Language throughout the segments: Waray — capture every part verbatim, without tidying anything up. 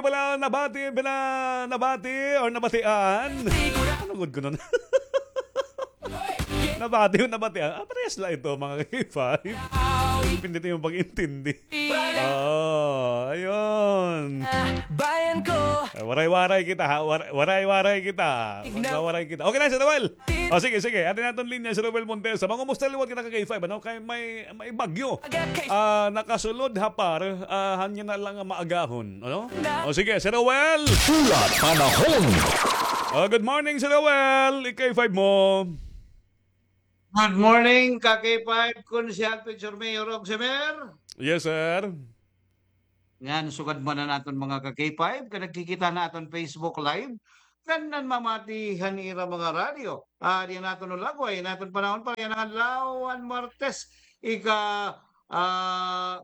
Pala nabati, pala nabati, or nabatian. Ano gud ko nun? Nabati o nabatian? Ah, parehas la ito, mga K five. Depende ito yung pag-intindi. Oo, ayun. Bayan ko. Eh, waray-waray kita, ha? War-, waray-waray kita. Magwawaray kita. Okay na, Sir Noel. O, sige, sige. Atin naton linya, Sir Noel Montesa. Mangumusta liwat kita ka K five, ano? Kay may, may bagyo. Ah, nakasulod ha par, ah, hanya na lang ang maagahon, ano? O, sige, Sir Noel. Ulat panahon. Oh, good morning, Sir Noel. I-K five mo. Good morning, ka K five, Konsehal Picture Mayor Rog Semer. Yes, sir. Ngan sugad man an aton mga ka K five, nga nagkikita han aton Facebook Live, ngan nanmamati han ira mga radyo. Ah, di naton ulagway, naton panahon pa, yana nga adlaw han Martes, ika, ah,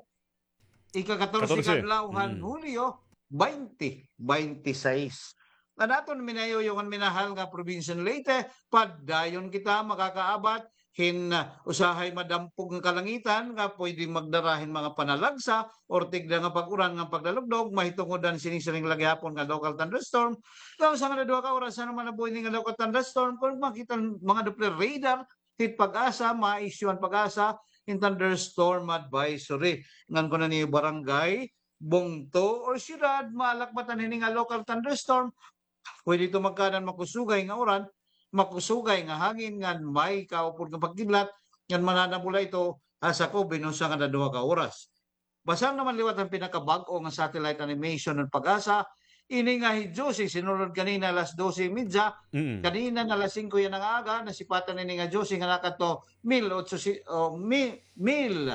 ika-katorse nga adlaw han Hulyo, baynte baynte sais. An aton minayuyong ngan minahal nga probinsya han Leyte, padayon kita makakaabat hin, ah, usahay madampog nga kalangitan nga pwede magdara hin mga panalagsa or tigda nga pag-uran ngan pagdalugdog, mahitungod an sini-siring la gihapon nga local thunderstorm. Nga usa nga duha ka oras, ano man nabuhi ini nga local thunderstorm, kon makita an mga Doppler radar, hit PAGASA, ma-issue an PAGASA hin thunderstorm advisory. Ngan kon an iyo barangay, bungto, or syudad, malakbatan hini nga local thunderstorm, pwede ito magkaada hin makusugay nga uran, makusugay nga hangin, ngan may kaupod nga pagkidlat, ngan mananabula ito ha sakob hin usa ngan duha ka oras. Basahon naman liwat an pinakabag-o nga satellite animation han PAGASA. Ini nga hi Josie, sinulod kanina alas dose y media, kanina nga alas singko yana nga aga, nasipatan ini nga Josie nga nakadto mil otso si-, o, mi-, mil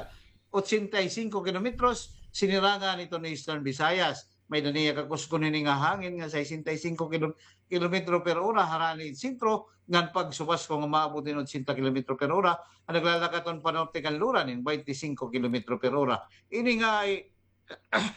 otsenta y singko kilometros, sinirangan iton Eastern Visayas. May-ada niya kakuskon hini nga hangin nga sesenta y singko kilo-, kilometro per ora harani hin sentro, ngan pagsubasko nga maabot hin otsenta kilometro per ora, an naglalakaton panorte kanluran hin baynte singko kilometro per ora. Ini nga hi,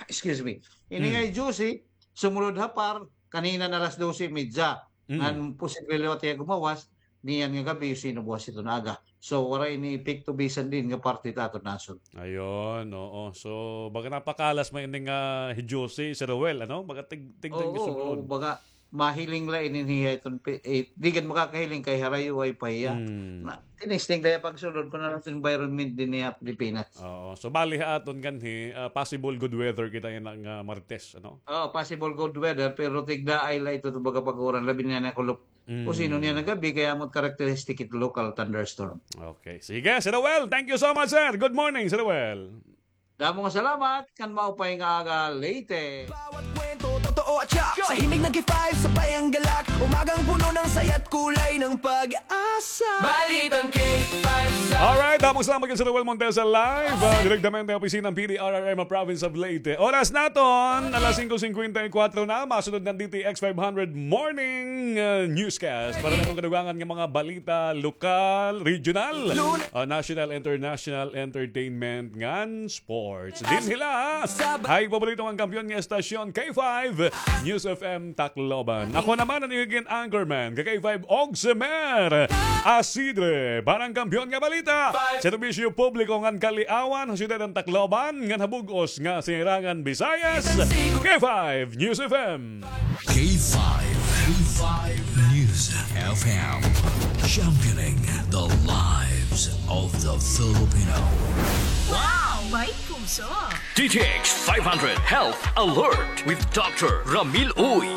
excuse me, ini nga hi Josie, sumulod ha par, kanina nga alas dose y media. Ngan posible liwat hiya gumawas, niyan nga gab-i, sino buwas iton aga. So, waray ini epekto bisan diin nga parte hit aton nasod. Ayun, oo. So, baga napakalas man ini nga hi Josie, Sir Roel, ano? Baga tig-, tigdan nga sumulod. Oo, baga mahiling la ini hiya iton pi-, eh, di gad makakahiling kay harayo ay pa hiya. Hmm. Na, tinesting la hiya pagsulod kon ano iton environment dinhi ha Pilipinas. Oo. So, bali ha aton kanhi, ah, possible good weather kita yana nga Martes, ano? Oo, possible good weather, pero tigdaay la ito, baga pag-uran, labi na nga kulop. Kung sino niya nagabi, kay amo it characteristic it local thunderstorm. Okay. Sige, Sir Noel. Thank you so much, sir. Good morning, Sir Noel. Damo nga salamat, kan maupay nga aga, Leyte. Bawat kwento, totoo at tiyak. Sa himig ng K five, sabay ang galak. Umagang puno ng saya't kulay ng pag-asa. Balitang K five sa Alright, damo nga salamat kan Sir Noel Montesa live, ah, direktamente ha opisina ng P D R R M ha Province of Leyte. Oras naton, alas singko singkwenta y kwatro na, masunod na an D T X five hundred Morning, ah, Newscast para naton kadugangan nga mga balita lokal, regional, ah, national, international, entertainment, ngan sports. Dinhi la ha iyo paborito nga kampeon nga estasyon, K five News F M Tacloban. Ako naman an iyo ginanchorman, ka K five Ogsemer Asidre, para han kampeon nga balita, serbisyo publiko ngan kaliawan ha siyudad han Tacloban ngan ha bug-os nga Sirangan Visayas, K five News F M. K five, K five News F M, championing the lives of the Filipino. Wow! May puso! D T X five hundred Health Alert with Doctor Ramil Uy.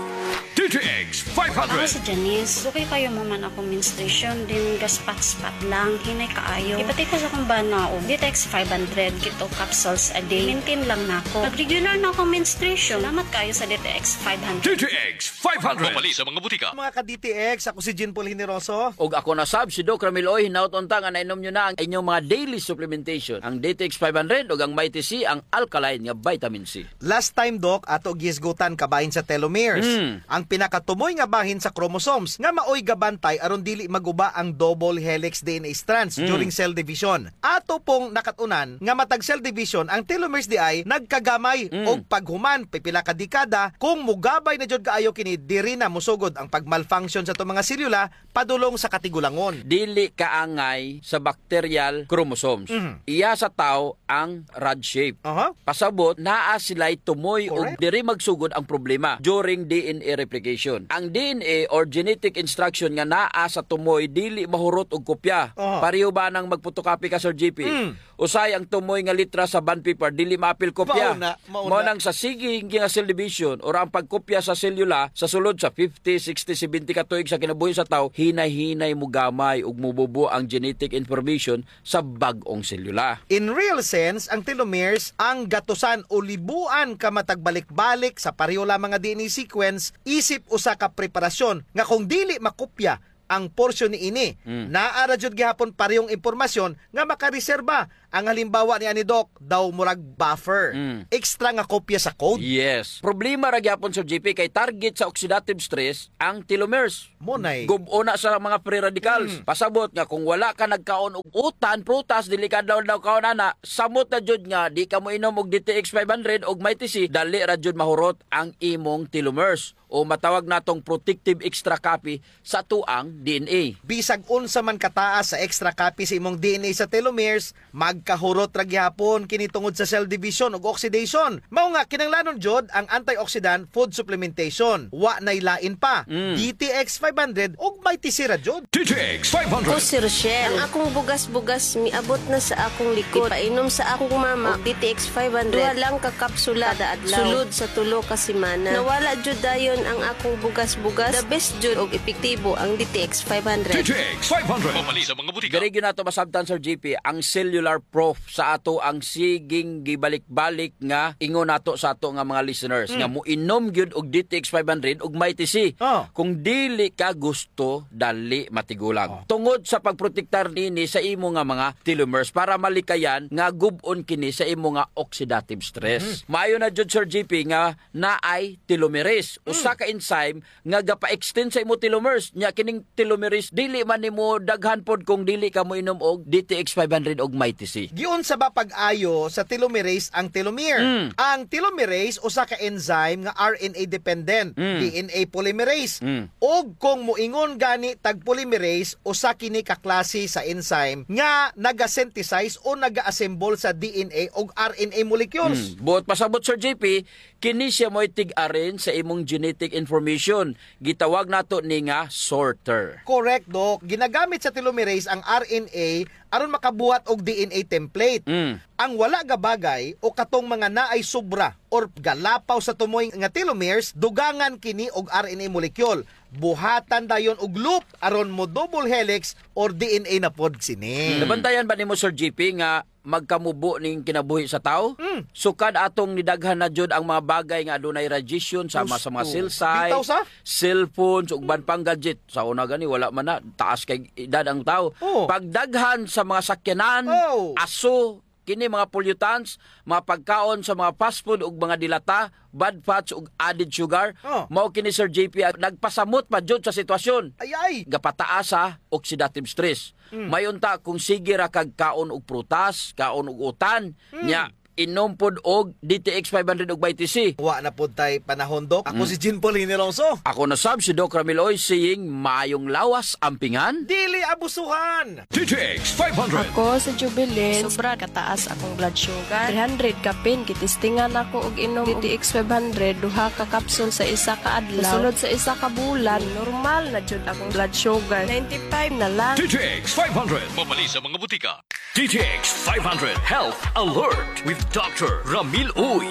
D T X five hundred. Ako si Janice. Dugay kaayo mahuman akon menstruation, then gaspat-spat lang, hinay kaayo. Ipati ko sa akon bana, o, D T X five hundred, keto capsules a day. Maintain lang nako. Nag-regular na akon menstruation. Salamat kaayo sa D T X five hundred. D T X five hundred. Mapalit sa mga butika. Mga ka-D T X, ako si Jean Paul Generoso. Ug ako na sab si Doc Ramil Uy, hinaot unta nga nainom nyo na ang inyong mga daily supplementation, ang D T X five hundred ug ang Mighty C, ang alkaline nga vitamin C. Last time, Doc, ato gihisgutan kabahin sa telomeres. Mm. Ang pinakatumoy nga bahin sa chromosomes nga maoy gabantay aron dili maguba ang double helix D N A strands Mm. during cell division. Ato pong nakat-unan nga matag cell division, ang telomeres diay nagkagamay Mm. og paghuman pipila ka dekada. Kung mugabay na jud kaayo kini, diri na mosugod ang pagmalfunction sa ato mga selula padulong sa katigulangon. Dili kaangay sa bacterial chromosomes. Mhm. Iya sa tawo ang rod shape. Aha. Pasabot, naa sila'y tumoy ug Correct. diri magsugod ang problema during D N A replication. Ang D N A or genetic instruction nga naa sa tumoy dili mahurot og kopya. Aha. Pareho ba nang magpotocopy ka, Sir G P? Mm. Usahay ang tumoy nga litra sa bond paper, dili maapil kopya. Mao na, mao Mao na. nang sa sige nga cell division or ang pagkopya sa selula sa sulod sa fifty, sixty, seventy ka tuig sa kinabuhi sa tawo, hinay-hinay mogamay ug mobubo ang genetic information sa bag-ong selula. In real sense, ang telomeres ang gatusan o libuan ka matag balik-balik sa pareho lamang nga D N A sequence isip usa ka preparasyon nga kung dili makopya ang porsyon niini, Mm. naa ra jud gihapon parehong impormasyon nga makareserba. Ang halimbawa niani, Doc, daw murag buffer. Mm. Extra nga kopya sa code. Yes. Problema ra gihapon, Sir G P, kay target sa oxidative stress ang telomeres. Mo nay. Gub-on na sa mga free radicals. Mm. Pasabot nga kung wala ka nagkaon og utan, prutas, dili ka daw daw kaon ana, samot na jud nga di ka moinom og D T X five hundred og Mighty C, dali ra jud mahurot ang imong telomeres. O matawag natong protective extra copy sa atoang D N A. Bisag unsa man kataas sa extra copy sa imong D N A sa telomeres, magkahurot ra gihapon kini tungod sa cell division ug oxidation. Mao nga, kinahanglanon jud ang antioxidant food supplementation. Wa nay lain pa. Mm. D T X five hundred ug Mighty C ra jud. D T X five hundred. Ako si Rochelle. Ang akong bugas-bugas miabot na sa akong likod. Ipainom sa akong mama og D T X five hundred. Duha lang ka kapsula kada adlaw. Sulod sa tulo ka semana. Nawala jud dayon ang akong bugas-bugas. The best jud og epektibo ang D T X five hundred. D T X five hundred. Mapalit sa mga butika. Diri gyud nato masabtan, Sir G P, ang cellular proof sa atoang siging gibalik-balik nga ingon nato sa ato nga mga listeners Mm. nga moinom gyud og D T X five hundred ug Mighty C. Oh. Kung dili ka gusto, dali matigulang. Oh. Tungod sa pagprotektar nini sa imo nga mga telomeres para malikayan nga gub-on kini sa imo nga oxidative stress. Mm. Maayo na jud, Sir G P, nga naay telomerase, Mm. usa ka enzyme nga gapa-extend sa imo telomeres. Nya kining telomerase, dili man nimo daghan pod kung dili ka moinom og D T X five hundred og Mighty C. Giunsa ba pag-ayo sa telomerase ang telomere? Mm. Ang telomerase, usa ka enzyme nga R N A dependent, Mm. D N A polymerase. Mm. Ug kung moingon gani tag polymerase, usa kini ka klase sa enzyme nga naga-synthesize o naga-assemble sa D N A ug R N A molecules. Mm. Buot pasabot, Sir G P, kini siya mo'y tig-arin sa imong genetic information. Gitawag nato ni nga sorter. Correct, Doc. Ginagamit sa telomerase ang R N A aron makabuhat og D N A template. Mm. Ang wala gabagay o katong mga naay sobra or galapaw sa tumoy nga telomeres, dugangan kini og R N A molecule. Buhatan dayon og loop aron mo double helix or D N A na pod sini. Mm. Nabantayan ba nimo, Sir G P, nga magkamubo ning kinabuhi sa tawo? Mm. Sukad atong nidaghan na jud ang mga bagay nga adunay radiation sama sa mga Gusto. Cell site, Bitaw sa? Cellphones, ug uban pang gadget. Sa una gani, wala man na, taas kay edad ang tawo. Oh. Pagdaghan sa mga sakyanan, Oh. aso, kini mga pollutants, mga pagkaon sa mga fast food ug mga dilata, bad fats ug added sugar, Oh. mao kini, Sir J P, ang nagpasamot pa jud sa sitwasyon. Ay, ay. Gapataas sa oxidative stress. Mm. May unta kung sige ra kag kaon og prutas, kaon og utan, Mm. nya inom pod og D T X five hundred ug Mighty C. Wa na pod tay panahon, Doc. Ako Mm. si Jean Paul Hiniroso. Ako na sab si Doc Ramil Oy, saying, mayong lawas, ampingan. Dili abusuhan. D T X five hundred. Ako si Jubilin. Sobra kataas akong blood sugar. Three hundred kapin, gitistingan ako og inom D T X five hundred, duha ka kapsul sa isa ka adlaw. Sulod sa isa ka bulan, normal na jud akong blood sugar. Ninety-five na lang. D T X five hundred. Mapalit sa mga butika. D T X five hundred Health Alert with Doctor Ramil Uy.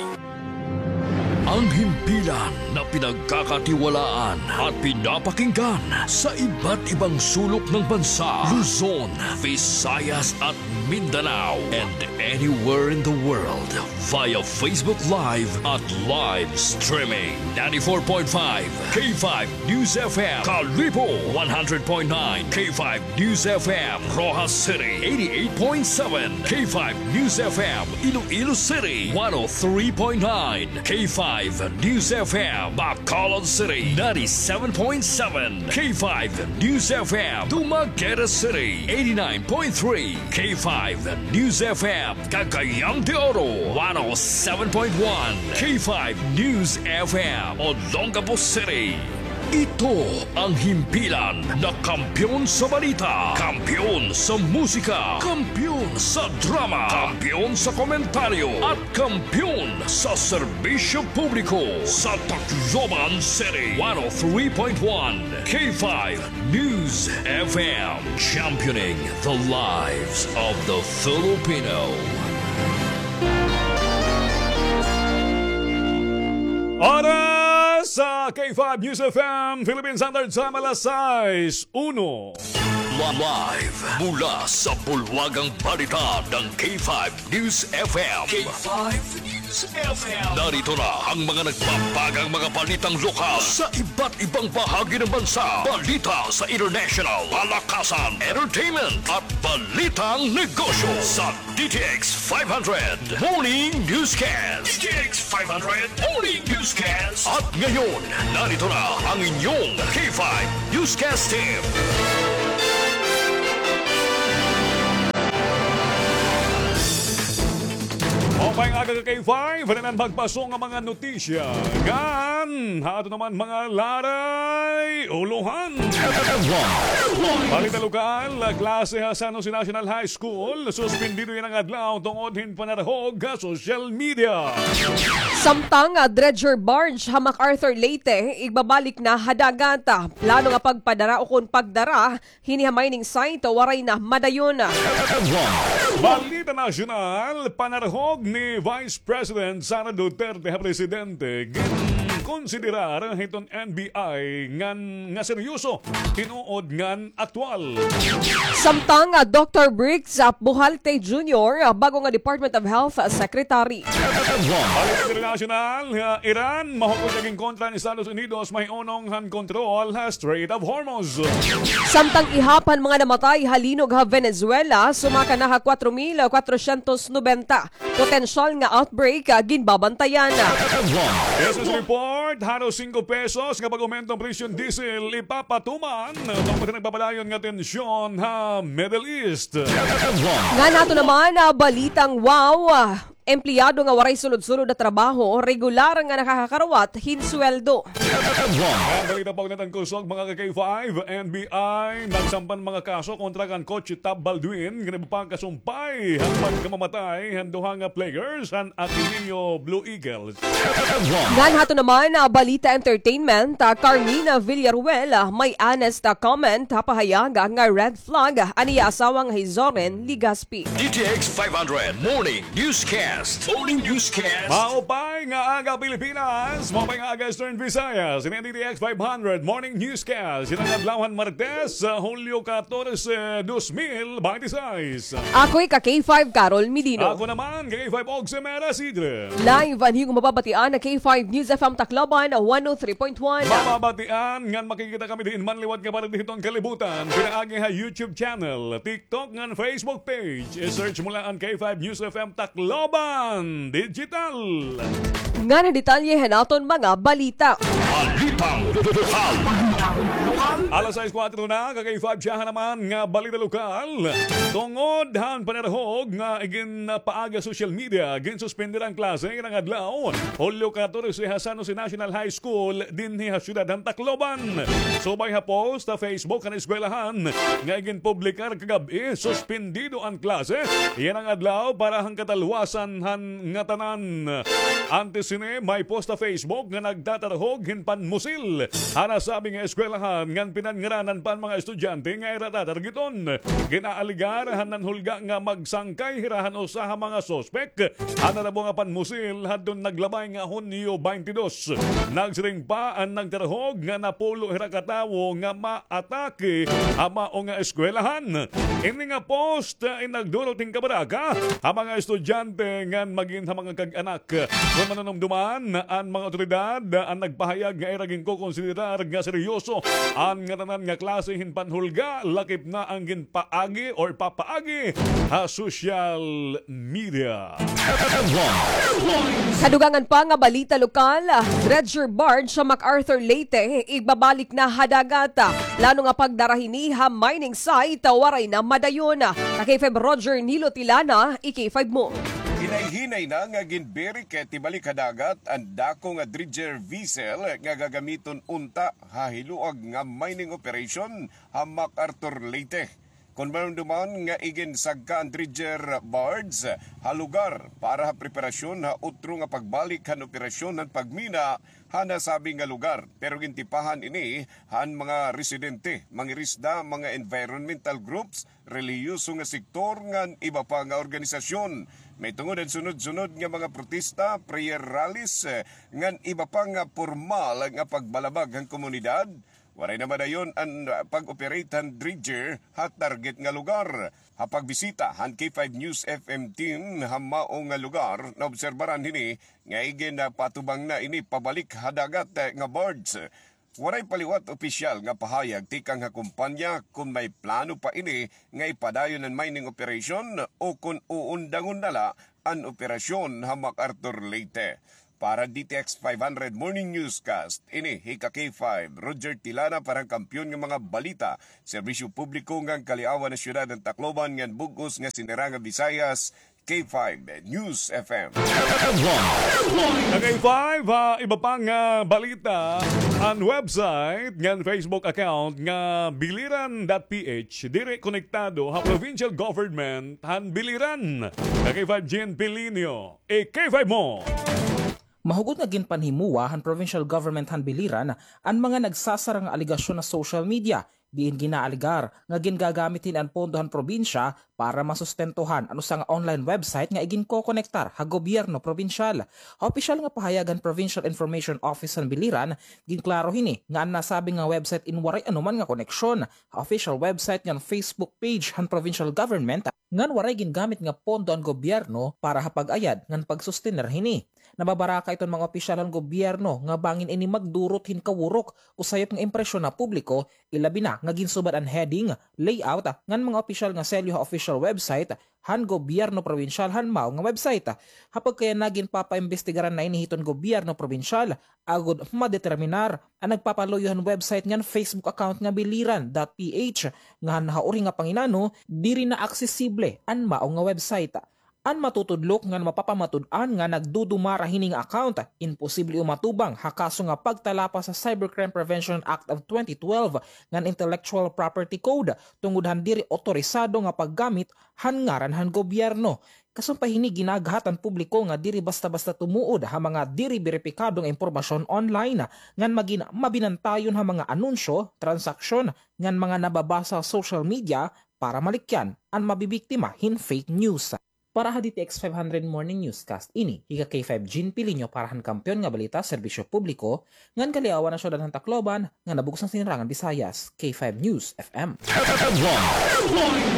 Ang himpilan na pinagkakatiwalaan at pinapakinggan sa iba't ibang sulok ng bansa, Luzon, Visayas at Mindanao, and anywhere in the world via Facebook Live at live streaming. Ninety-four point five K five News F M, Kalibo, one hundred point nine K five News F M, Roxas City, eighty-eight point seven K five News F M, Iloilo City, one oh three point nine K five News F M, Bacolod City, ninety-seven point seven K five News F M, Dumaguete City, eighty-nine point three K five News F M, Cagayan de Oro, one oh seven point one K five News F M, Olongapo City. Ito ang himpilan na kampiyon sa balita, kampiyon sa musika, kampiyon sa drama, kampiyon sa komentaryo, at kampiyon sa serbisyo publiko sa Tacloban City. One oh three point one K five News F M, championing the lives of the Filipino. Oras sa K five News F M Philippine Standard Time, alas sais uno. Live mula sa bulwagang balita ng K five News F M. K five News F M. Narito na ang mga nagbabagang mga balitang lokal sa iba't ibang bahagi ng bansa. Balita sa international, palakasan, entertainment, at balitang negosyo sa D T X five hundred Morning Newscast. D T X five hundred Morning Newscast. At ngayon, narito na ang inyong K five Newscast Team. Maupay nga aga ka K five, ano na an magpaso nga mga notisya ngan ha aton naman mga laray ulohan. Balita lokal, klase ha San Jose National High School, suspendido yana nga adlaw tungod hin panarahog ha social media. Samtang, ah, dredger barge ha MacArthur, Leyte, igbabalik na ha dagat. Plano nga pagpadara o kon pagdara hini ha mining site, waray na madayon. Balita nasyonal, panarahog ni Vice President Sara Duterte ha presidente, ginkonsiderar hiton N B I ngan nga seryoso, tinuod ngan aktual. Samtang, ah, Doktor Briggs, ah, Buhalte Junior, ah, bag-o nga Department of Health, ah, Secretary. Balita internasyonal, ah, Iran, mahukot nga ginkontra an Estados Unidos, mahiunong han kontrol ha Strait of Hormuz. Samtang ihap han mga namatay ha linog ha Venezuela, sumaka na ha kwatro mil kwatrosyentos nobenta. Potensyal nga outbreak, ah, ginbabantayan. Business report, haros singko pesos nga pag-umento an presyo han diesel, ipapatuman tungod han nagpapadayon nga tensyon ha Middle East. Ngan ha aton naman, ah, balitang wow, ah, empleyado nga waray sulod-sulod nga trabaho, regular nga nakakakarawat hin sweldo. Ngan balita pa, ugnayan an kusog, mga ka K five, N B I nagsampa hin mga kaso kontra kan Coach Tab Baldwin, ngan iba pa nga kasumpay han pagkamamatay han duha nga players han Ateneo Blue Eagles. Ngan ha aton naman, ah, balita entertainment, ah, Carmina Villaruel, ah, may honest, ah, comment ha pahayag, ah, nga red flag, ah, an iya asawa nga hi Zoren Legaspi. D T X five hundred Morning Newscast. Morning Newscast. Maupay nga aga, Pilipinas. Maupay nga aga, Eastern Visayas. Ini an D T X five hundred Morning Newscast. Yana nga adlaw han Martes, ah, Hulyo katorse, dos mil binte sais. Ako hi ka K five, Carol Medino. Ako naman, ka K five, Oxemera Sidre. Live an iyo mababatian ha K five News F M Tacloban, one oh three point one. Mababatian ngan makikita kami diin man liwat nga parte hiton kalibutan. Pinaagi ha YouTube channel, TikTok ngan Facebook page. I-search mo la an K five News F M Tacloban Digital. Ngan an detalye han aton mga balita. Balitang lokal. Alas sais kuwatro na, ka K five, siyahan naman nga balita lokal. Tungod han panarahog nga iginpaagi ha social media, ginsuspender an klase yana nga adlaw, Hulyo katorse, ha San Jose National High School dinhi ha siyudad han Tacloban. Subay ha post ha Facebook han eskwelahan nga iginpublikar kagab-i, suspendido an klase yana nga adlaw para han katalwasan han ngatanan. Antes hini, may post ha Facebook nga nagtatarhog hin panmusil ha nasabi nga eskwelahan. eskwelahan ngan pinanngaranan pa an mga estudyante nga ira tatargeton. Gin-aalegar han nanhulga nga magsangkay hira han usa ha mga suspek han natabo nga panmusil hadton naglabay nga Hunyo twenty-two. Nagsiring pa an nagtarhog nga napulo hira ka tawo nga maatake ha mao nga eskwelahan. Ini nga post, ah, in nagdulot hin kabaraka ha mga estudyante ngan magin ha mga kag-anak. Kon manunumduman, an mga awtoridad, ah, an nagpahayag nga ira ginkokonsiderar nga seryoso an ngatanan nga klase hin panhulga, lakip na an ginpaagi or papaagi ha social media. Sa dugangan pa nga balita lokal, dredger barge sa MacArthur, Leyte, igbabalik na ha dagat. Plano nga pagdara hini ha mining site, waray na madayon. Ka K five Roger Nilo Tilana, i K five mo. Hinay-hinay na nga ginbirikit ibalik ha dagat an dako nga dredger vessel nga gagamiton unta ha hiluag nga mining operation ha MacArthur, Leyte. Kon manumduman nga iginsagka an dredger barge ha lugar para ha preparasyon ha utro nga pagbalik han operasyon han pagmina ha nasabi nga lugar. Pero gintipahan ini han mga residente, mangirisda, mga environmental groups, relihiyoso nga sektor, ngan iba pa nga organisasyon. Mahitungod han sunod-sunod nga mga protesta, prayer rallies, eh, ngan iba pa nga pormal nga pagbalabag han komunidad, waray na madayon an, ah, pag-operate han dredger ha target nga lugar. Ha pagbisita han K five News F M team ha mao nga lugar, naobserbaran hini nga iginpatubang na ini pabalik ha dagat, eh, nga barge. Waray pa liwat opisyal nga pahayag tikang ha kumpanya kon may plano pa ini nga ipadayon an mining operation o kon uundangon na la an operasyon ha MacArthur, Leyte. Para D T X five hundred Morning Newscast, ini hi ka K five, Roger Tilana, para han Kampiyon nga mga Balita, Serbisyo Publiko ngan Kaliawan ha Syudad han Tacloban ngan bug-os nga Sinirangan Visayas, K five News F M. Ka K five, ha iba pa nga balita, an website ngan Facebook account nga biliran dot P H diri konektado ha provincial government han Biliran. Ka K five Jean Pilinio, i K five mo. Mahugot nga ginpanhimuwa han provincial government han Biliran an mga nagsasara nga alegasyon ha social media, diin ginaalegar nga gingagamit hini an pondo han probinsya para masustentuhan an usa nga online website nga iginkokonektar ha gobyerno probinsyal. Ha opisyal nga pahayag han Provincial Information Office han Biliran, ginklaro hini nga an nasabi nga website in waray anuman nga koneksyon ha official website ngan Facebook page han provincial government, ngan waray gingamit nga pondo an gobyerno para ha pag-ayad ngan pagsostener hini. Nababaraka iton mga opisyal han gobyerno nga bangin ini magdurot hin kawurok o sayop nga impresyon ha publiko, ilabi na nga ginsubad an heading, layout, ngan mga opisyal nga selyo ha official website han gobyerno probinsyal han mao nga website. Ha pagkayana, ginpapaimbestigaran na ini hiton gobyerno probinsyal agod madeterminar an nagpapaluyo han website ngan Facebook account nga biliran dot P H, ngan ha uri nga panginano, diri na aksesible an mao nga website. An matutudlok ngan mapapamatud-an nga nagdudumara hini nga account, imposible umatubang ha kaso nga pagtalapas sa Cybercrime Prevention Act of twenty twelve ngan Intellectual Property Code tungod han diri otorisado nga paggamit han ngaran han gobyerno. Kasumpay hini, ginagahat han publiko nga diri basta-basta tumuod ha mga diri beripikado nga impormasyon online, ngan magin mabinantayon ha mga anunsyo, transaksyon, ngan mga nababasa ha social media para malikyan an mabibiktima hin fake news. Para ha D T X five hundred Morning Newscast, ini hi ka K five Jean Pilinio para han Kampiyon nga Balita, Serbisyo Publiko, ngan Kaliawan ha Syudad han Tacloban, nga nabug-os han Sinirangan Visayas, K five News F M.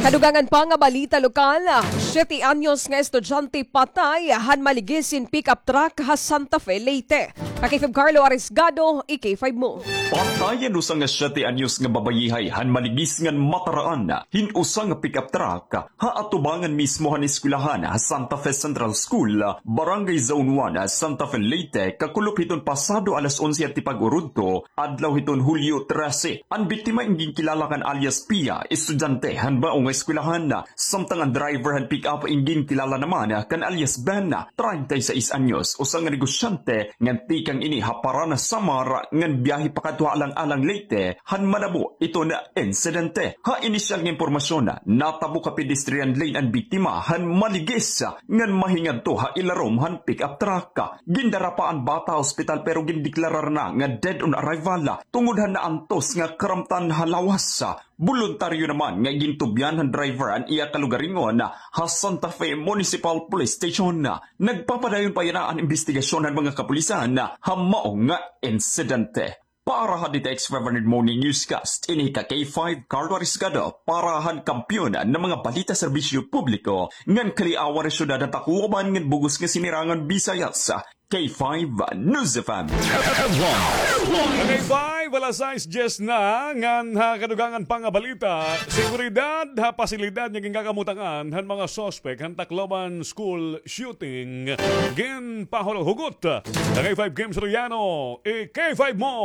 Kadugangan pa nga balita lokal, siyete anyos nga estudyante patay han maligis hin pickup truck ha Santa Fe, Leyte. Ka K five Carlo Arisgado, i K five mo. Patay an usa nga siyete anyos nga babayihay han maligis ngan mataraan hin usa nga pickup truck ha atubangan mismo han eskwelahan ha Santa Fe Central School, Barangay Zone one, Santa Fe, Leyte, kakulop hiton pasado alas onse han tipag-urudto, adlaw hiton Hulyo trese. An biktima in ginkilala kan alias Pia, estudyante han mao nga eskwelahan, samtang an driver han pick-up in ginkilala naman kan alias Ben, treinta y seis anyos, usa nga negosyante ngan tikang ini ha Paranas, Samar, ngan biyahe pakadto ha Alang-alang, Leyte, han manabo iton insidente. Ha inisyal nga impormasyon, natabo ha pedestrian lane an biktima han Digis, ngan mahingadto ha ilarom han pick-up truck. Gindara pa an bata ha ospital pero gindeklarar na nga dead on arrival tungod han naantos nga karamtan ha lawas. Boluntaryo naman nga gintubyan han driver an iya kalugaringon ha Santa Fe Municipal Police Station. Nagpapadayon pa yana an imbestigasyon han mga kapulisan ha mao nga insidente. Para han D T X five hundred Morning Newscast, ini ka K five Carlo Arisgado, para han kampiyon nga mga balita serbisyo publiko, ngan kaliawan han syudad han Tacloban ngan bug-os nga Sinirangan Visayas, K five News F M. Headline. K five, alas sais diyes na, ngan ha kadugangan pa nga balita, seguridad ha pasilidad nga ginkakamutangan han mga suspek han Tacloban school shooting, ginpahuhugot. Kay five Kim Soriano, i-K five mo.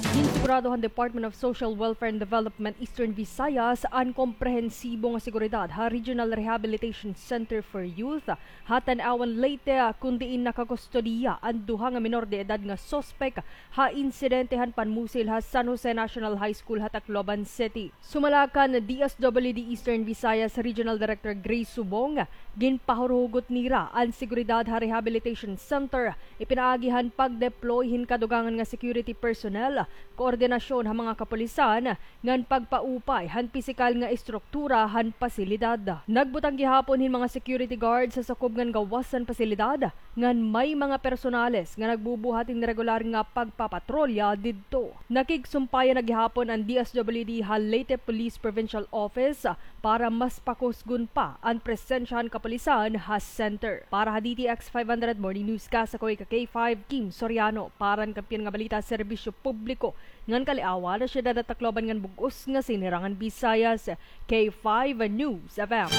Ginsigurado han Department of Social Welfare and Development Eastern Visayas an komprehensibo nga seguridad ha Regional Rehabilitation Center for Youth ha Tanauan, Leyte, kun diin nakakustodiya an duha nga menor de edad nga suspek ha insidente han panmusil ha San Jose National High School ha Tacloban City. Sumala kan D S W D Eastern Visayas Regional Director Grace Subong, ginpahuhugot nira an seguridad ha rehabilitation center, ipinaagi han pag-deploy hin kadugangan nga security personnel, koordinasyon ha mga kapulisan, ngan pagpaupay han pisikal nga estruktura han pasilidad. Nagbutang gihapon hin mga security guards ha sakob ngan gawas han pasilidad, ngan may mga personales nga nagbubuhat hin regular nga pagpapatrolya didto. Nakigsumpayan na gihapon an D S W D ha Leyte Police Provincial Office para mas pakusgon pa an presensya han kapulisan ha center. Para ha D T X five hundred Morning Newscast, ako ika K five, Kim Soriano, para han kampiyon nga balita, serbisyo publiko, ngan kaliawan ha syudad han Tacloban ngan bug-os nga Sinirangan Visayas, K five News F M.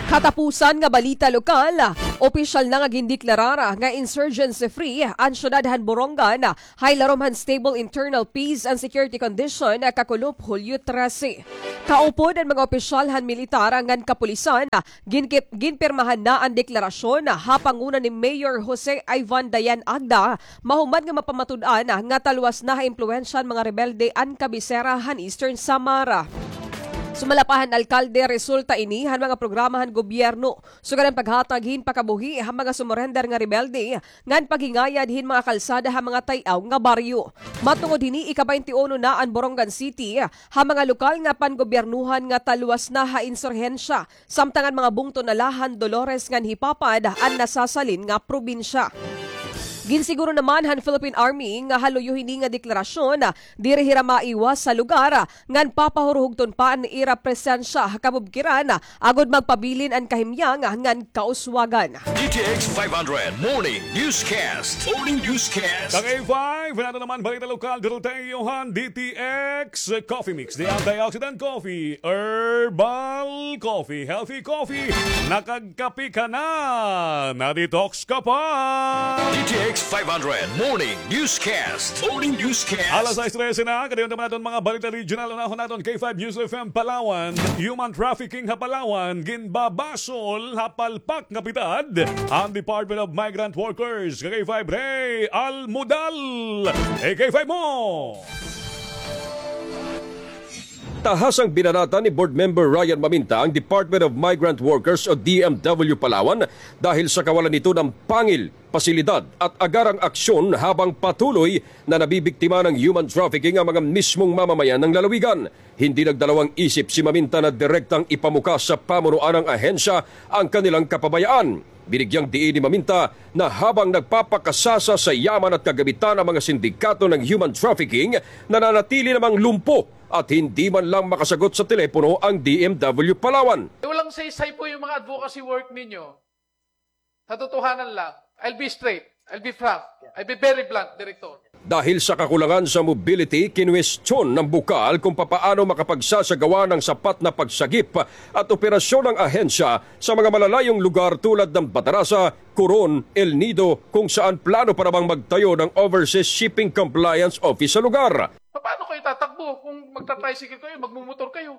Katapusan nga balita lokal, opisyal na nga gindeklarar nga insurgency-free an syudad han Borongan ha ilarom han stable internal peace and security condition kakulop Hulyo trese. Kaupod an mga opisyal han militar ngan kapulisan, ginkip-, ginpirmahan na an deklarasyon ha panguna ni Mayor Jose Ivan Dayan Agda, mahuman nga mapamatud-an nga talwas na ha impluwensya han mga rebelde an kabisera han Eastern Samar. Sumala pa han alkalde, resulta ini han mga programa han gobyerno, sugad han paghatag hin pakabuhi ha mga sumurender nga rebelde, ngan paghingayad hin mga kalsada ha mga tay-aw nga baryo. Matungod hini, ika-baynte uno na an Borongan City ha mga lokal nga pangobyernohan nga talwas na ha insurhensya, samtang an mga bungto na la han Dolores ngan Jipapad an nasasalin nga probinsya. Ginsiguro naman han Philippine Army nga ha luyo hini nga deklarasyon, diri hira maiwas sa lugar, ngan papahurhugton pa an ira presensya ha kabubkiran, agod magpabilin an kahimyang ngan kauswagan. D T X five hundred Morning Newscast. Morning Newscast. Kang A five, nato naman balita lokal, duro tayo han D T X Coffee Mix, the antioxidant coffee, herbal coffee, healthy coffee. Nakagkape ka na, na-detox ka pa. D T X five hundred Morning Newscast. Morning Newscast. Alas sais trese na, kadayon naman naton mga balita regional. Unahon naton, K five News F M Palawan. Human trafficking ha Palawan, ginbabasol ha palpak nga pitad an Department of Migrant Workers. Ka K five Ray Almudal. E K five mo. Tahasang binanatan ni Board Member Ryan Maminta ang Department of Migrant Workers o D M W Palawan dahil sa kawalan nito ng pangil, pasilidad at agarang aksyon habang patuloy na nabibiktima ng human trafficking ang mga mismong mamamayan ng lalawigan. Hindi nagdalawang isip si Maminta na direktang ipamuka sa pamunuan ng ahensya ang kanilang kapabayaan. Binigyang diin ni Maminta na habang nagpapakasasa sa yaman at kagamitan ang mga sindikato ng human trafficking, nananatili namang lumpo at hindi man lang makasagot sa telepono ang D M W Palawan. Walang saysay po yung mga advocacy work ninyo. Sa totohanan lang, I'll be straight, I'll be frank, I'll be very blunt, Director. Dahil sa kakulangan sa mobility, kinwestiyon ng bukal kung papaano makapagsasagawa ng sapat na pagsagip at operasyon ng ahensya sa mga malalayong lugar tulad ng Batarasa, Coron, El Nido, kung saan plano pa namang magtayo ng Overseas Shipping Compliance Office sa lugar. Paano kayo tatakbo kung magta-tricycle kayo, magmumotor kayo?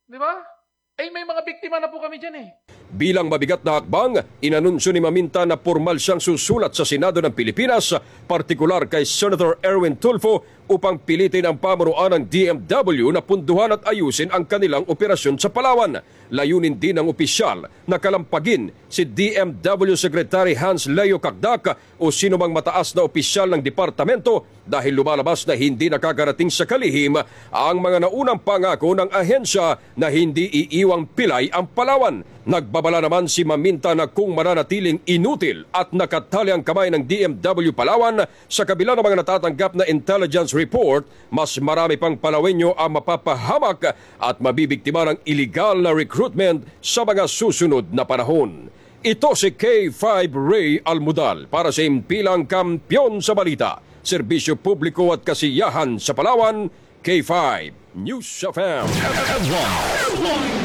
Di ba? Eh, may mga biktima na po kami dyan eh. Bilang mabigat na hakbang, inanunsyo ni Maminta na pormal siyang susulat sa Senado ng Pilipinas, partikular kay Senator Erwin Tulfo, upang pilitin ang pamunuan ng D M W na punduhan at ayusin ang kanilang operasyon sa Palawan. Layunin din ng opisyal na kalampagin si D M W Secretary Hans Leo Cacdac o sino mang mataas na opisyal ng departamento dahil lumalabas na hindi nakakarating sa kalihim ang mga naunang pangako ng ahensya na hindi iiwang pilay ang Palawan. Nagbabala naman si Maminta na kung mananatiling inutil at nakatali ang kamay ng D M W Palawan sa kabila ng mga natatanggap na intelligence report, mas marami pang Palawenyo ang mapapahamak at mabibiktima ng iligal na recruitment sa mga susunod na panahon. Ito si K five Ray Almudal para sa Impilang Kampiyon sa Balita, Serbisyo Publiko at Kasiyahan sa Palawan, K five News F M.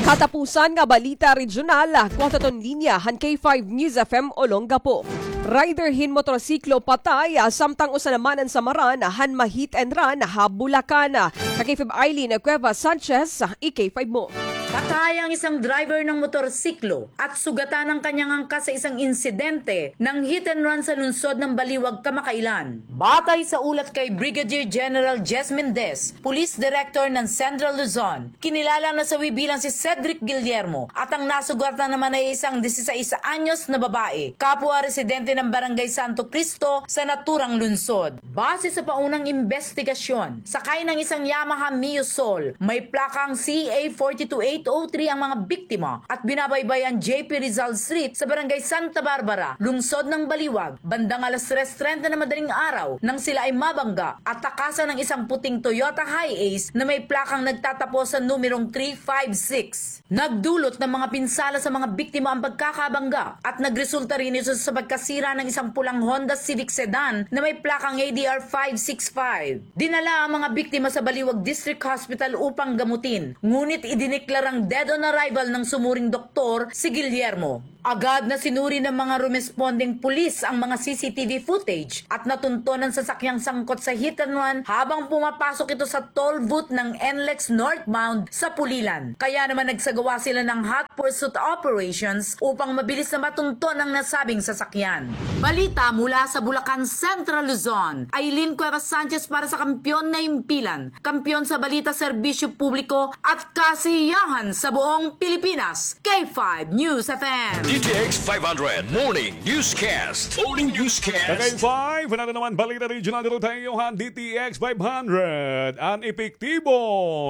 Katapusan nga balita regional, kuwataton linya han K five News F M Olongapo. Rider hin motorsiklo patay, samtang usa naman an samaran han ma-hit and run ha Bulacan. Ka K five Eileen Cuevas Sanchez, i-K five mo. Patay ang isang driver ng motorsiklo at sugatan ang kanyang angkas sa isang insidente ng hit and run sa lungsod ng Baliwag kamakailan. Batay sa ulat kay Brigadier General Jess Mendez, Police Director ng Central Luzon, kinilala na sawi bilang si Cedric Guillermo at ang nasugatan naman ay isang disisais anyos na babae, kapwa residente ng Barangay Santo Cristo sa naturang lungsod. Base sa paunang imbestigasyon, sakay ng isang Yamaha Mio Soul, may plakang C A four two eight oh three ang mga biktima at binabaybay ang J P Rizal Street sa Barangay Santa Barbara, lungsod ng Baliwag, bandang alas tres trenta na madaling araw nang sila ay mabangga at takasan ng isang puting Toyota Hiace na may plakang nagtatapos sa numerong three five six. Nagdulot ng mga pinsala sa mga biktima ang pagkakabangga at nagresulta rin ito sa pagkasira ng isang pulang Honda Civic Sedan na may plakang A D R five six five. Dinala ang mga biktima sa Baliwag District Hospital upang gamutin, ngunit idineklarang dead on arrival ng sumuring doktor si Guillermo. Agad na sinuri ng mga rumesponding pulis ang mga C C T V footage at natunton ang sasakyang sangkot sa hit and run habang pumapasok ito sa toll booth ng NLEX northbound sa Pulilan. Kaya naman nagsagawa sila ng hot pursuit operations upang mabilis na matunton ang nasabing sasakyan. Balita mula sa Bulacan, Central Luzon. Aileen Cuevas Sanchez para sa Kampiyon na Impilan. Kampiyon sa balita, serbisyo publiko at kasiyahan sa buong Pilipinas. K five News F M. D T X five hundred Morning Newscast. Morning Newscast. Ka K five, nato naman balita regional dito tayo han D T X five hundred. An epektibo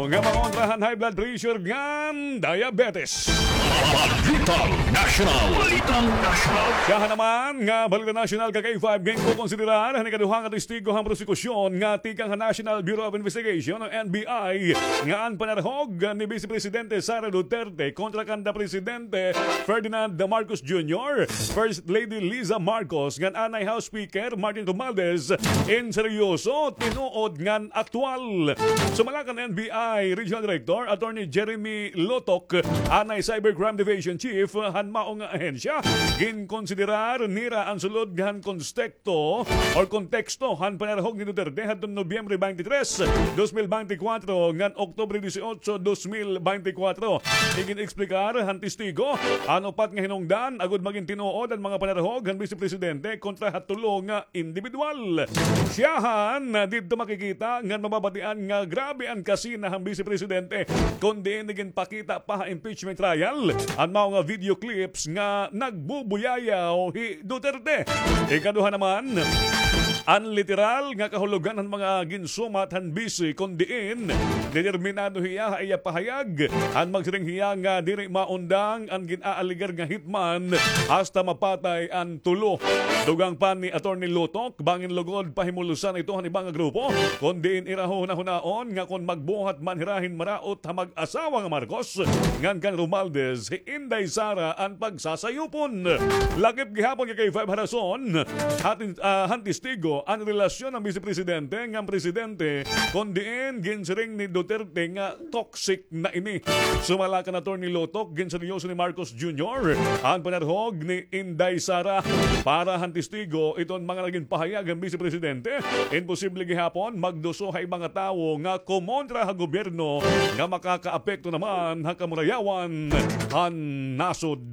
nga pangontra han high blood pressure ngan diabetes. Balitang National. Balitang National. Siyahan naman nga balita national ka K five, ginkokonsiderar han ikaduha nga testigo han prosekusyon nga tikang han National Bureau of Investigation o N B I nga an panarhog ni Vice Presidente Sara Duterte kontra kan da Presidente Ferdinand Marcos Junior, First Lady Liza Marcos ngan anay House Speaker Martin Romualdez in seryoso, tinuod ngan aktual. Sumala kan N B I Regional Director Attorney Jeremy Lotok, anay Cybercrime Division Chief han maong ahensya, ginkonsiderar nira an sulod han konstek- to or konteksto han panarhog ni Duterte hadton Nobyembre twenty-three, dos mil beintikwatro ngan Oktubre dieciocho, dos mil beintikwatro. Igin-eksplikar han testigo an upat nga hinungdan agod magin tinuod an mga panarhog han Bise Presidente kontra ha tulo nga indibidwal. Siyahan, didto makikita ngan mababatian nga grabe an kasina han Bise Presidente kon diin iginpakita pa ha impeachment trial an mao nga video clips nga nagbubuyayaw hi Duterte. Ikaduha naman, an literal nga kahulogan han mga ginsumat han Bise kon diin determinado hiya ha iya pahayag, an magsiring hiya nga diri maundang an gin-aalegar nga hitman hasta mapatay an tulo. Dugang pa ni Attorney Lotok, bangin lugod pahimulusan ito han iba nga grupo, kon diin ira hunahunaon nga kon magbuhat man hira hin maraot ha mag-asawa nga Marcos ngan kan Romualdez, hi Inday Sara an pagsasayupon. Lakip gihapon kay K five ha rason, hatin, ah, han testigo an relasyon han Bise Presidente ngan Presidente, kon diin ginsiring ni Duterte nga toxic na ini. Sumala kan Attorney Lotok, ginseryoso ni Marcos Junior an panarhog ni Inday Sara. Para han testigo, iton mga nagin pahayag han Bise Presidente, imposible gihapon magduso ha iba nga tawo nga kumontra ha gobyerno nga makakaapekto naman ha kamurayawan han nasod.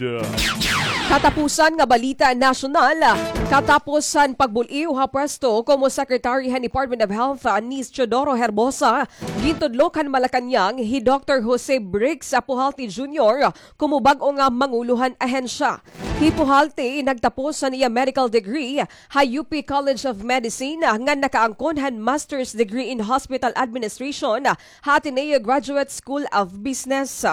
Katapusan nga balita nasyonal, katapos han pagbul-iw ha Press Castro komo Secretary han Department of Health, ah, ni Teodoro Herbosa, gintudlok han Malacañang hi Doktor Jose Brix, ah, Pujalte Junior komo bag-o nga mangulo han ahensya. Hi Pujalte nagtapos han iya medical degree ha U P College of Medicine, ah, ngan nakaangkon han master's degree in hospital administration, ah, ha Ateneo Graduate School of Business.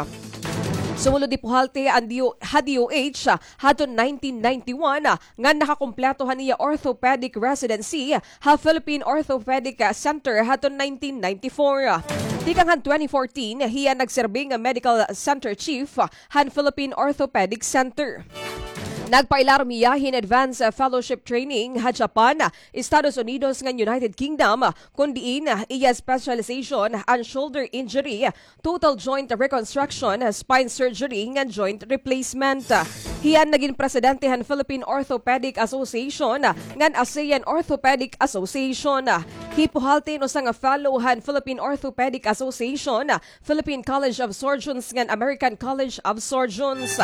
Sumulod hi Pujalte an D O, ha D O H, ah, hadton nineteen ninety-one, ah, ngan nakakumpleto han iya orthopedic residency ha Philippine Orthopedic Center hadton nineteen ninety-four. Tikang han twenty fourteen, hiya nagserbi nga medical center chief han Philippine Orthopedic Center. Nagpailarom hiya hin advanced fellowship training ha Japan, Estados Unidos ngan United Kingdom, kon diin iya specialization an shoulder injury, total joint reconstruction, spine surgery, ngan joint replacement. Hiya an nagin presidente han Philippine Orthopedic Association ngan ASEAN Orthopedic Association. Hi Pujalte usa nga fellow han Philippine Orthopedic Association, Philippine College of Surgeons, ngan American College of Surgeons.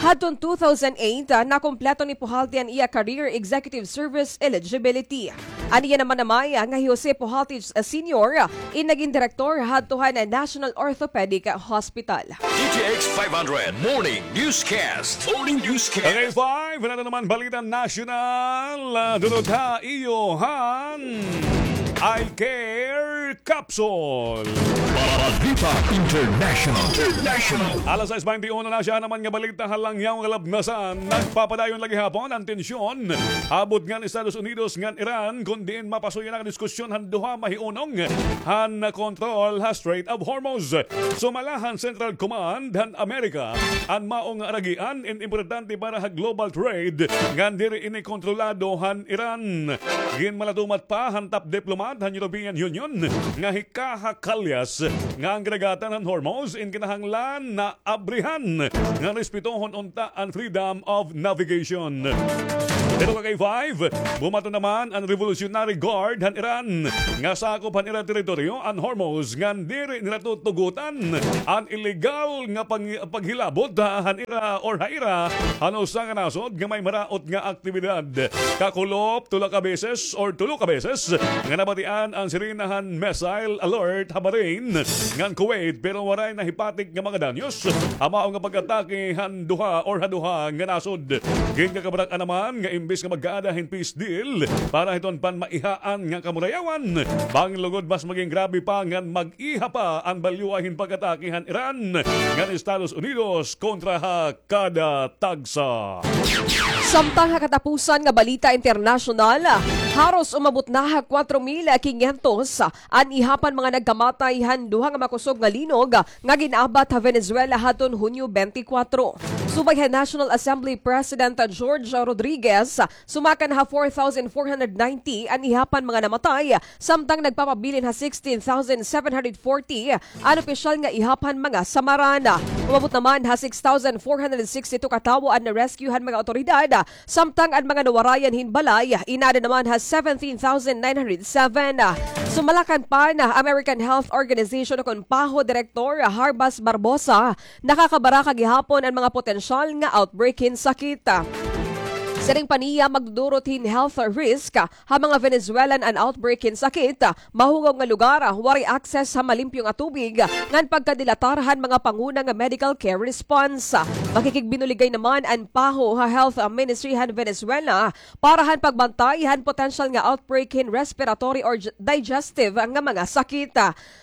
Hadton two thousand eight, ah, nakumpleto ni Pujalte an iya career executive service eligibility. An iya namanamay, ah, nga hi Jose Pujalte, ah, Senior, ah, in nagin direktor hadto han National Orthopedic Hospital. D T X five hundred Morning Newscast. Morning Newscast. Okay, five, wala na naman balita nasyonal. Ah, durot ha iyo han Eye Care Capsule. Balita International. International. Alas sais baynte uno na siya naman nga balita ha langyaw nga labnasan. Nagpapadayon la gihapon an tensyon ha butnga han Estados Unidos ngan Iran, kon diin mapasuyan an diskusyon han duha mahiunong han kontrol ha Strait of Hormuz. Sumala han Central Command han Amerika, an mao nga aragian in importante para ha global trade ngan diri ini kontrolado han Iran. Ginmalatumat pa han top diplomat han European Union nga hi Kaja Kallas nga an kadagatan han Hormuz in kinahanglan na abrihan ngan respetohon unta an freedom of navigation. Pero ka K five, bumaton naman an Revolutionary Guard han Iran nga sakop han ira teritoryo an Hormuz ngan diri nira tutugotan an illegal nga pang-, paghilabot han ira or ha ira han usa nga nasod nga may maraot nga aktibidad. Kakulop, tula ka beses or tulo ka beses nga nabatian an sirena han missile alert ha Bahrain ngan Kuwait, pero waray nahipatik nga mga danyos ha mao nga pag-atake han duha or ha duha nga nasod. Ginkakabrak-an naman nga imbis nga magkaada hin peace deal para hiton panmaihaan nga kamurayawan, bangin lugod mas maging grabe pa ngan mag-iha pa an balyuha hin pag-atake han Iran ngan Estados Unidos kontra ha kada tagsa. Samtang ha katapusan nga balita internasyonal, haros umabot na ha kwatro mil kinyentos an ihap han mga nagkamatay han duha nga makusog nga linog nga gin-abat ha Venezuela hadton Hunyo twenty-four. Subay han National Assembly President George Rodriguez, sumakan ha four thousand four hundred ninety an ihap han mga namatay, samtang nagpapabilin ha sixteen thousand seven hundred forty an opisyal nga ihap han mga samaran. Umabot naman ha six thousand four hundred sixty-two ka tawo an na-rescue han mga awtoridad, samtang an mga nawarayan hin balay inaada naman ha seventeen thousand nine hundred seven. Sumala kan PAHO, American Health Organization, kon PAHO Direktor Harbas Barbosa, nakakabaraka gihapon an mga potensyal nga outbreak hin sakit. Siring pa niya, magdudurot hin health risk ha mga Venezuelan an outbreak hin sakit, mahugaw nga lugar, waray access ha malimpyo nga tubig, ngan pagkadilatar han mga panguna nga medical care response. Makikigbinuligay naman an PAHO ha Health Ministry han Venezuela para han pagbantay han potensyal nga outbreak hin respiratory or j-, digestive nga mga sakit.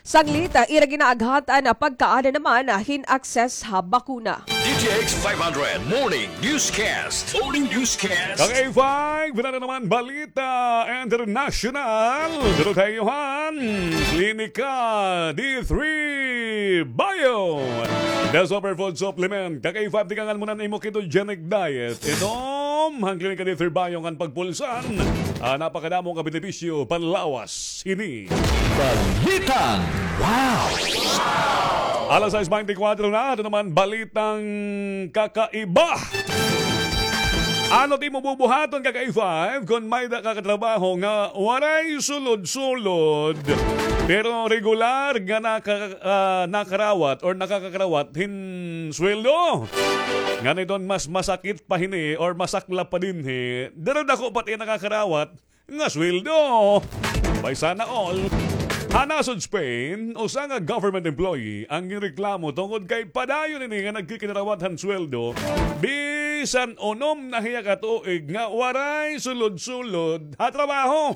Sanglit, ira ginaaghat an pagkaada naman hin access ha bakuna. D T X five hundred Morning Newscast. Morning Newscast. Ka K five, wala na naman balita international. Pero tayo han Klinika D three Bio, the superfood supplement. Ka K five, tikangan mo na an imo ketogenic diet. Inom han Klinika D three Bio ngan pagpulsan. Ah, napakadamo nga benepisyo panlawas. Ini Balitang Wow! Alas sais baynte kwatro na, ato naman balitang kakaiba. Ano it imo bubuhaton, ka K five, kon may-ada ka katrabaho nga waray sulod-sulod, pero regular nga naka-, ah, nakarawat or nakakakarawat hin sweldo? Ngan iton mas masakit pa hini or masaklap pa dinhi, diri dako pa it iya nakakarawat, nga sweldo. Bay, sana all. Ha nasod Spain, usa nga government employee an ginreklamo tungod kay padayon ini nga nagkikinarawat han sweldo, bisan unom na hiya ka tuig nga waray sulod-sulod ha trabaho.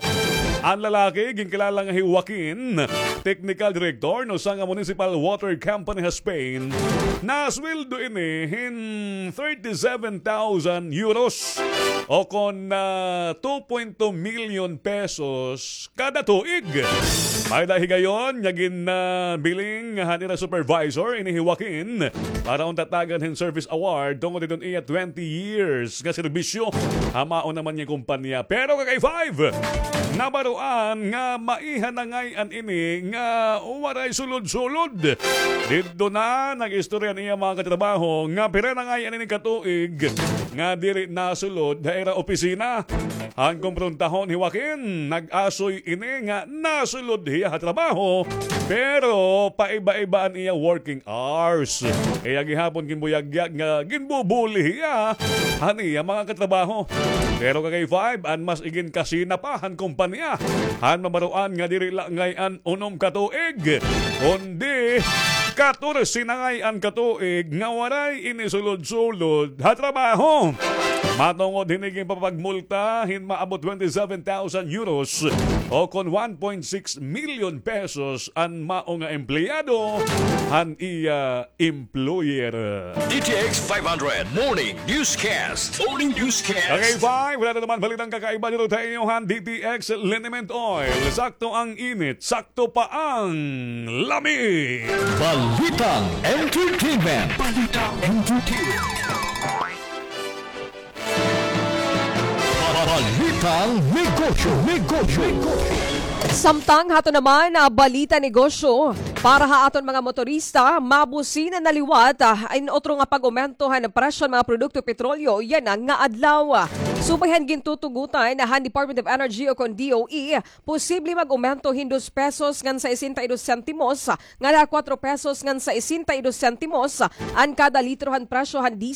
An lalaki, ginkilala nga hi Joaquin, technical director han usa nga municipal water company ha Spain, nasweldo ini hin thirty-seven thousand euros o kon, ah, two point two million pesos kada tuig. May-ada higayon nga ginbiling han ira supervisor ini hi Joaquin para unta tagan hin service award tungod hiton iya twenty years nga serbisyo ha mao naman nga kumpanya. Pero ka K five, nabaroan nga maiha na ngay-an ini nga waray sulod-sulod. Didto na nag-istorya an iya mga katrabaho nga pira na ngay-an ini ka tuig nga diri nasulod ha ira opisina. Han kumprontaha hi Joaquin, nag-asoy ini nga nasulod hiya ha trabaho, pero paiba-iba an iya working hours. Iya gihapon ginbuyagyag nga ginbubuli hiya han iya mga katrabaho. Pero ka K five, an mas iginkasina pa han kumpanya han mabaroan nga diri la ngay-an unom ka tuig, kundi katorse na ngay-an ka tuig nga waray ini sulod-sulod ha trabaho. Matungod hini, ginpapagmulta hin maabot twenty-seven thousand euros o kon one point six million pesos an mao nga empleyado han iya employer. D T X five hundred Morning Newscast. Morning Newscast. Okay, five. Wala na naman balitang kakaiba dito sa inyo han D T X Liniment Oil. Sakto ang init, sakto pa ang lami. Balitang entertainment. Balitang entertainment. Balitang negosyo, negosyo, negosyo. Samtang hato naman, ah, balita negosyo, para ha aton mga motorista, mabusina na liwat, ah, in utro nga pag-umento han presyo han mga produkto petrolyo yana nga adlaw. Subay han gintutugutan han Department of Energy o kon D O E, posible mag-umento hin dos pesos ngan sesenta y dos sentimos ngan ha kuwatro pesos ngan sesenta y dos sentimos an kada litro han presyo han diesel